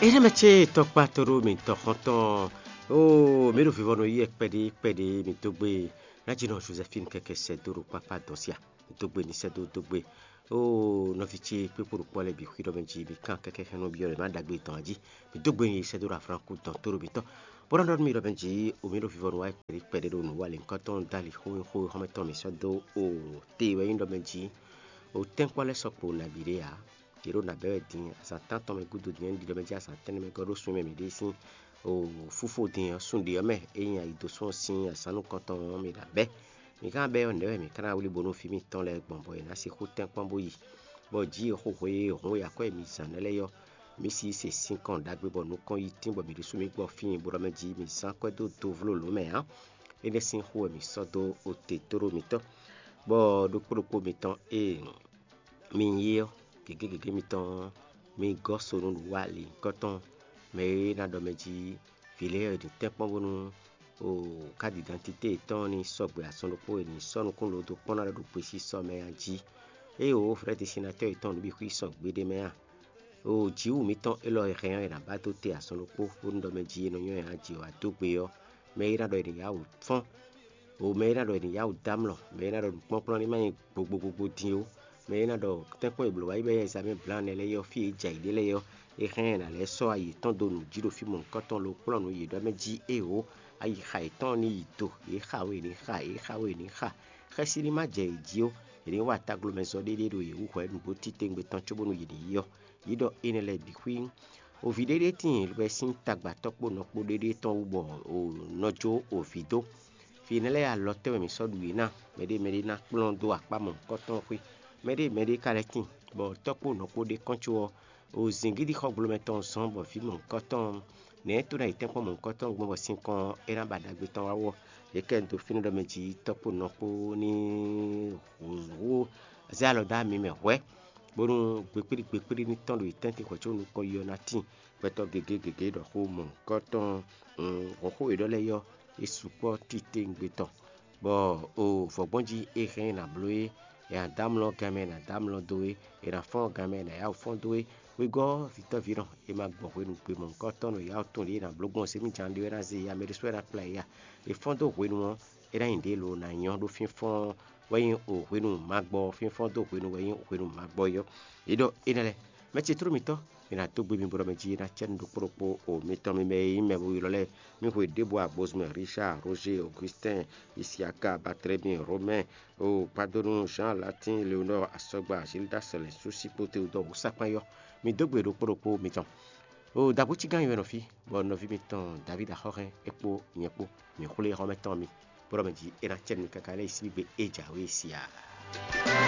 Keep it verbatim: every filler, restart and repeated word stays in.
Énɛ́ mɛ ce tɔkpá to ɖó mi tɔxɔntɔn. Oo, mǐ ɖo vivɔnu yí kpɛɖé kpɛɖé mi dó gbe. Nájínɔ Joséphine kɛkɛ sɛ́ dó ɖo kpákpá dɔn sia. Mi dó gbe ní sɛ́ dó dó gbe. Oo, nɔví ce kpékpo ɖo kpɔ́ lɛ́ɛ bǐ xwí ɖɔ mɛ jí mi kán kɛkɛ xɛn nɔ byɔ́ lɛ̌ má ɖagbe dɔn jí. Mi dó gbe ní sɛ́ dó ɖo aflán kú dɔn tó ɖo mi tɔn. Bó ná ɖɔ nú mi ɖɔ mɛ jí omi ɖo vivɔnu wá kpɛɖé kpɛɖé ɖo nǔ wa lě nyǐkɔ tɔn dó ali xó xó xɔ́mɛ tɔn mi sɔ́ dó. Oo, te wɛ nyí ɖɔ mɛ jí. O tɛ́nkpɔ́ lɛ́ɛ sɔkpo nabí ɖé ǎ. Yě ɖo nǎ bɛ́ wɛ din, azǎn tántɔn mɛ gúdo din, é ɖi ɖɔ mɛ jí azǎn tɛ́nnɛ mɛ gɔ́ ɖó sun e mɛ mǐ ɖe sín fúfó din ɔ́, sun ɖě ɔ́ mɛ, é nyí ayi dó sún ɔ́ sín azǎn nukɔntɔn ɔ́, mǐ ɖo abɛ́. Mǐ ka ná bɛ́ ɔ́, nɛ̌ wɛ mǐ ka ná wlí bónú fí mǐtɔn lɛ́ɛ gbɔn bɔ è nǎ sixú tɛ́nkpɔ́n bó yi? Bɔ jǐ e xo hwe e hǔn e akwɛ́ e mǐ zán nɛ́ lɛ́ɛ ɔ́, mǐ sixú se sinkɔn ɖagbe bɔ nukɔn yi tín bɔ mǐ ɖésú mǐ gbɔ fíin bo ɖɔ mɛ jí mǐ zán akwɛ́ dó do vló lǒ mɛ ǎ. Énɛ́ sín xó wɛ mǐ sɔ́ dó ote tóɖó mitɔn, bɔ ɖokpó ɖokpó mitɔn e mi nyí ɔ́, gěgé gěgé mitɔn ɔ́, mi gɔ́ so nú nǔwanlin nyǐkɔ tɔn mɛ e ná ɖɔ mɛ jí vǐ lɛ́ɛ e ɖi tɛ́nkpɔ́n bónú kádi dantité yětɔn ní sɔgbe azɔn ɖokpó e ní sɔ́ nukún lodo kpɔ́n ná ɖo ɖo gbesisɔ mɛ a jí. Ée wǒ vrɛ́ destinatɔ́ yětɔn nǔ bǐ xwí sɔgbe ɖ'é mɛ a? Oo, jǐwǔ mitɔn élɔ́ e hɛn ɔ́, è nǎ ba dó te azɔn ɖokpó bónú ɖɔ mɛ jí e nɔ nyɔ́ ɛ ná jǐ wá dó gbe ɔ́, mɛ e ná ɖɔ è nǐ yá wǔ fɔ́n, o mɛ e ná ɖɔ è nǐ yá wǔ dó amlɔ, mɛ e ná ɖɔ nǔkplɔ́nkplɔ́n ní má nyí gbogbogbo din ó, mɛ e ná ɖɔ tɛ́nkpɔ́n e blǒ wá yi bɔ é nyí Zǎmɛ Blǎnɛ lɛ́ɛ é ɔ́, fí e jɛ yě ɖe lɛ́ɛ ɔ́, é hɛn ɛ ná lɛ́ sɔ́ ayi yětɔn dó nǔ jí ɖo fí mɔ̌hunkɔtɔn lo kplɔ́n nǔ yě ɖɔ mɛ jí éeǒ, ayixa yětɔn ní yi do, yě xa we ní xa, yě xa we ní xa, xɛsi ní má jɛ yě jí ó, yě ní wa taglomɛzɔ́ ɖéɖé ɖo yě wú hwɛ̌ nǔgbó titewungbe tɔn cóbónú yě ní yi ɔ́. Yě ɖɔ énɛ́ lɛ́ɛ bǐ xwí. Ovi ɖéɖé tíin bɔ é sín tagba tɔ́kpo nɔkpó ɖéɖé tɔn wú bɔ nɔ jó ovi dó. Fí énɛ́ lɛ́ɛ alɔ tɛ́nwe mǐ sɔ́ ɖu yě ná, mɛɖé mɛɖé ná kplɔ́n dó akpá mɔ̌hunkɔtɔn xwé. Mɛɖé mɛɖé ka lɛ́ tíin, bɔ tɔ́kpo nɔkpó ɖé kɔn có ɔ́, o zǐngídi xɔgblo mɛ tɔn zɔ́n bɔ vǐ mɔ̌hunkɔtɔn nɛ̌ tó ná yi tɛ́nkpɔ́n mɔ̌hunkɔtɔn gbɔn bɔ sinkɔn é ná ba ɖagbe tɔn wá wɔ. Yě kɛ do fínɛ́ ɖɔ mɛ jí tɔ́kpo nɔkpó ní hǔ zé alɔ dó ami mɛ hwɛ̌, bónú gbekpíɖí gbekpíɖí ní tɔ́n ɖo yě tɛ́ntin hwɛ̌ có nukɔn yi ɔ́ ná tíin. Gbɛtɔ́ gěgé gěgé ɖɔ xó mɔ̌hunkɔtɔn, hɔn xó e ɖɔ lɛ́ɛ ɔ́, é sukpɔ́ titewungbe tɔn, bɔ o vɔ̌gbɔ́n jí é hɛn ɛ nǎ bló é, è nǎ dó amlɔ gan mɛ è nǎ dó amlɔ dó é, è nǎ fɔ́n gan mɛ è nǎ yá wǔ fɔ́n dó é. Wegɔ́ vǐtɔ́ví nɔ, è ma gbɔ hwenu gbe mɔ̌hunkɔtɔn nɔ yá wǔ tɔn ɖě è nǎ bló gbɔn zěmijǎn ɖé wɛ ná zé ya, mɛ ɖésú wɛ ná kplá ɛ ya. È fɔ́n dó hwenu ɔ́, é ná nyí ɖě lo ná nyɔ́ ɖó fínfɔ́n wɛ nyí o hwenu ma gbɔ fínfɔ́n dó hwenu wɛ nyí hwenu ma gbɔ é ɔ́. Yě ɖɔ énɛ́ lɛ́ɛ, mɛ ce tló mitɔ́, mi ná dó gbe mi bo ɖɔ mɛ jí é ná cɛ nú ɖokpó ɖokpó o mitɔn mi mɛ e nyí mɛ bo ylɔ́ lɛ́ɛ. Mi hwe ɖěbǔ agbozmɛ Richard, Roger, Augustin, Isiaka, Barthélemy, Romain, o kpado nú Jean, Latin, Léonore, Asɔgba, Gildas, Lɛ̌nsusi kpó Tewudɔ́ɔ wǔsakpán yɔ́. Mi dó gbe ɖokpó ɖokpó mitɔn. O dǎbúcígán nyi wɛ nɔ fí, bɔ nɔví mitɔn David Axɔ́hɛn é kpó nyɛ kpó, mǐ xwlé xɔ́mɛ tɔn mi, bó ɖɔ mɛ jí é ná cɛ nú mi káká lɛ́ yi síbígbe é jǎwe siaa.